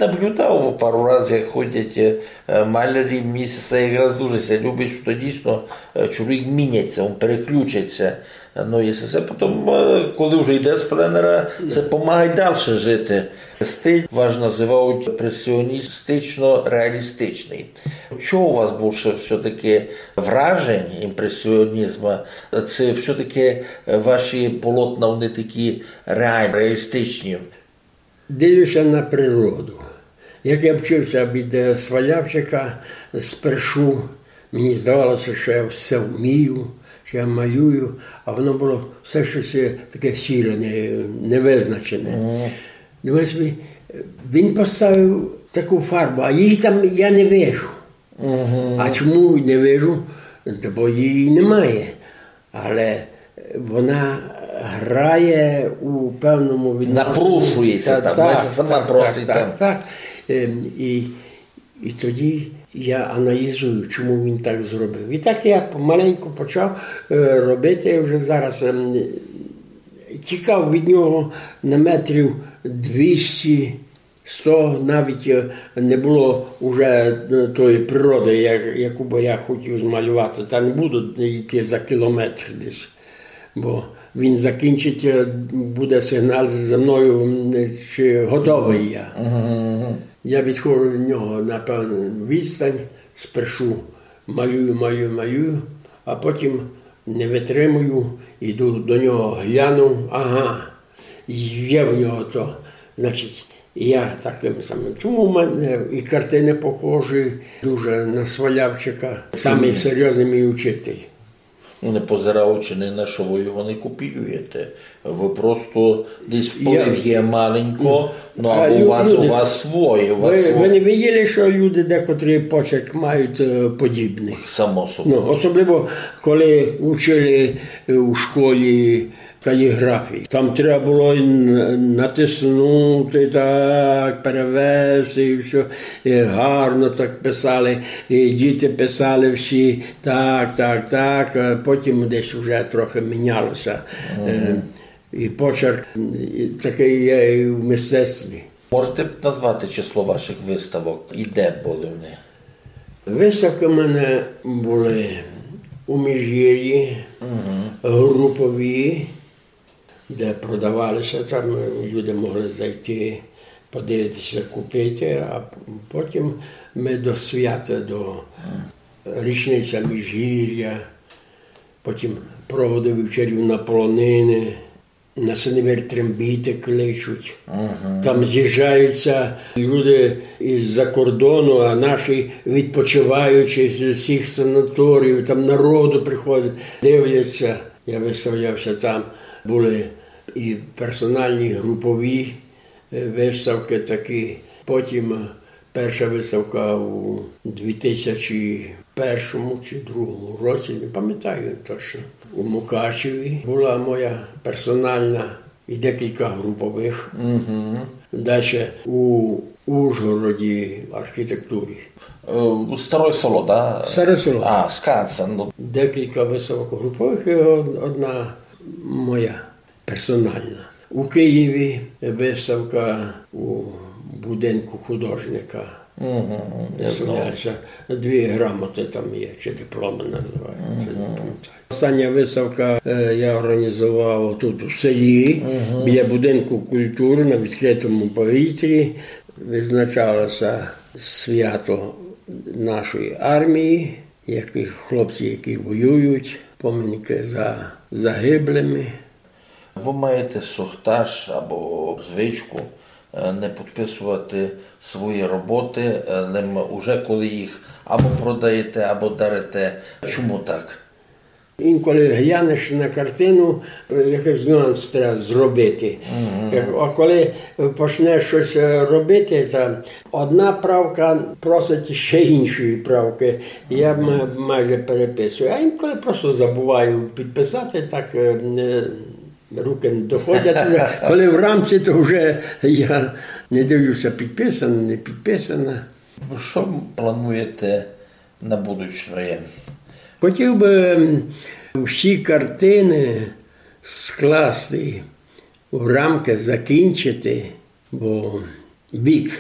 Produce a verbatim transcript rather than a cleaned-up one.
Наблюдав пару раз, як ходять, е, е, малярі, мені се якраз дуже ся любить, што дійсно, е, чоловік міняється, він переключиться. Ну, і се, се потім, е, коли вже йде з пленера, се помагає далі жити. Стиль ваш називають імпресіоністично-реалістичний. Чого у вас більше все-таки вражень імпресіонізму? Це все-таки ваші полотна, вони такі реальні, реалістичні? Дивлюся на природу. Як я вчився від, е, Свалявчика, спершу мені здавалося, що я все вмію, що я малюю, а воно було все щось, е, таке сіре, не-, невизначене. Мгм. Думаю собі, е, він поставив таку фарбу, а її там я не вижу. Мгм. А чому не вижу? Та бо її немає. Але вона грає у певному відношенні. Напрошує ся там, вона сама просить там. Так, так. Ем, і, і тоді я аналізую, чому він так зробив. І так я помаленьку почав, е, робити. Вже зараз, ем, тікав від нього на метрів двісті, сто, навіть, е, не було уже, е, тої природи, як-, яку би я хотів змалювати. Та не буду йти за кілометр десь, бо він закінчить, е, буде сигнал за мною, м, чи готовий я. Мгм, мгм. Я відходжу від нього на певну відстань, спершу малюю, малюю, малюю, а потім не витримую, йду до нього, гляну, ага, є в нього то. Значить, я таким самим. Тому в мене і картини похожі дуже на Свалявчика. Самий серйозний мій учитель. Ну, не позираючи ні на що, ви його не копіюєте. Ви просто десь вплив є маленько, ну, а або у вас, у вас своє, у вас своє. Ви не виділи, що люди декотрі почерк мають, е, подібний? Само собою. Ну, особливо, коли учили, е, у школі каліграфії. Там треба було н-, натиснути так, перевести і все. І гарно так писали, і діти писали всі так, так, так. А потім десь вже трохи мінялося. Е, і почерк, і такий є і в мистецтві. Можете назвати число ваших виставок і де були вони? Виставки в мене були у Міжгір'ї, групові, де продавалися, там, е, люди могли зайти, подивитися, купити, а п-, потім ми до свята, до річниця Міжгір'я, потім проводи вівчарів на полонини, на Синевир трембіти кличуть. Там з'їжджаються люди із-за кордону, а наші відпочиваючі з усіх санаторіїв, там народу приходить, дивляться. Я виставлявся там, були і персональні, і групові, е, виставки такі. Потім, е, перша виставка у дві тисячі першому чи другому році, не пам'ятаю точно. У Мукачеві була моя персональна і декілька групових. Дальше у Ужгороді архітектурі. Е, Старе Село, да? Старе Село. А, Скансен, ну. Декілька виставок групових і од-, одна моя персональна. У Києві виставка у будинку художника. Мгм, я знав. Виставляється. Дві грамоти там є, чи дипломи називаються, не пам'ятаю. Остання виставка, е, я організував тут у селі, біля будинку культури на відкритому повітрі. Відзначалося свято нашої армії, які хлопці, які воюють, поминки за загиблими. Ви маєте сохтаж або звичку, е, не підписувати свої роботи, е, лем уже коли їх або продаєте, або дарите. Чому так? Інколи глянеш на картину, е, якийсь нюанс треба зробити. Як, а коли почнеш щось, е, робити, та одна правка просить ще іншої правки. Я м-, майже переписую. А інколи просто забуваю підписати, так, е, не, руки не доходять вже. Коли в рамці, то вже я не дивлюся, підписано, не підписано. Що плануєте на будучноє? Хотів би, м, всі картини скласти в рамки, закінчити, бо вік